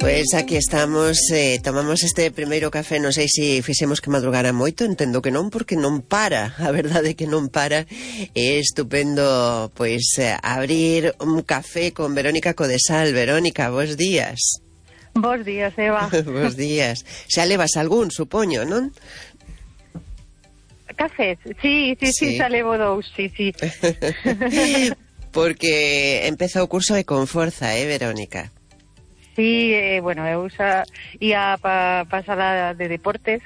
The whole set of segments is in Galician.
Pois aquí estamos, tomamos este primeiro café, non sei se fixemos que madrugara moito, entendo que non, porque non para, a verdade é que non para. É estupendo, pois, abrir un café con Verónica Codesal. Verónica, bos días. Bos días, Eva. Bos días. Xa levas algún, supoño, non? Cafés, sí, xa levo dous, sí. Porque empeza o curso e con forza, Verónica? Sí, bueno, eu xa ia pa sala de deportes,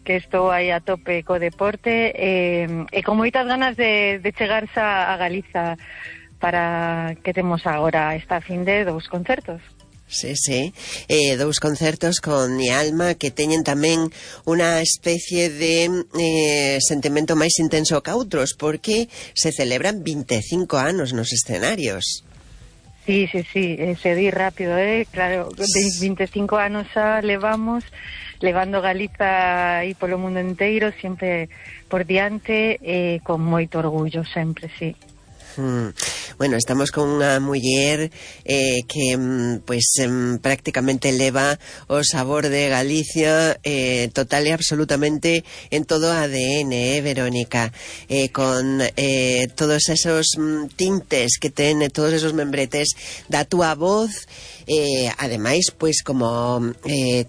que estou aí a tope co deporte, e con moitas ganas de chegarse a Galiza para que temos agora esta fin de dous concertos. Sí, dous concertos con Mi Alma que teñen tamén unha especie de sentimento máis intenso que outros, porque se celebran 25 anos nos escenarios. Sí, se di rápido, claro, 25 anos xa levamos, levando Galiza aí polo mundo inteiro, sempre por diante, con moito orgullo, sempre, sí. Bueno, estamos con unha muller que pois prácticamente leva o sabor de Galicia total e absolutamente en todo o ADN, Verónica, con todos esos tintes que ten, todos esos membretes da túa voz. Ademais, pois como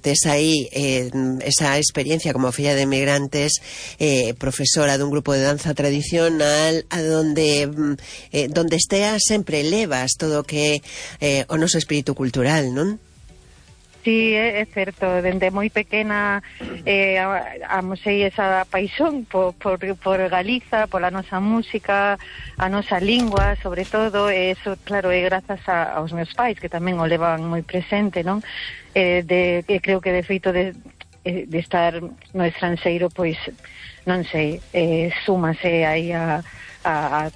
tes aí esa experiencia como filla de emigrantes, profesora dun grupo de danza tradicional, a donde esteas sempre levas todo o que o noso espírito cultural, non? Sí, é certo, dende moi pequena amosei esa paixón por Galiza, pola nosa música, a nosa lingua, sobre todo, e eso, claro, é grazas aos meus pais, que tamén o levan moi presente, non? Creo que de feito de estar no estranxeiro, pois, non sei, súmase aí a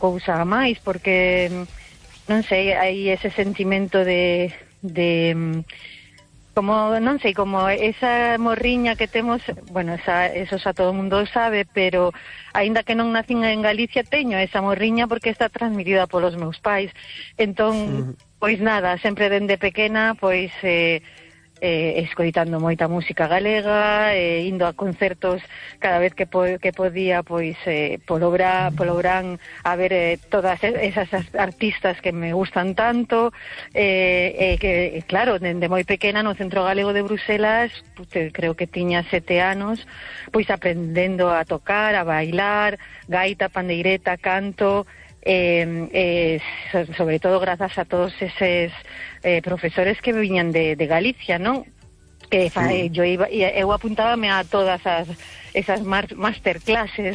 cousa a máis, porque, non sei, hai ese sentimento de como, non sei, como esa morriña que temos, bueno, eso xa todo o mundo sabe, pero aínda que non nacín en Galicia, teño esa morriña porque está transmitida polos meus pais. Entón, pois nada, sempre dende pequena, pois escoitando moita música galega, indo a concertos cada vez que podía, pois polo Brán a ver todas esas artistas que me gustan tanto, que claro, dende moi pequena no Centro Galego de Bruselas, creo que tiña 7 anos, pois aprendendo a tocar, a bailar, gaita, pandeireta, canto, sobre todo grazas a todos eses profesores que viñan de Galicia, non? Que eu apuntábame a todas esas masterclasses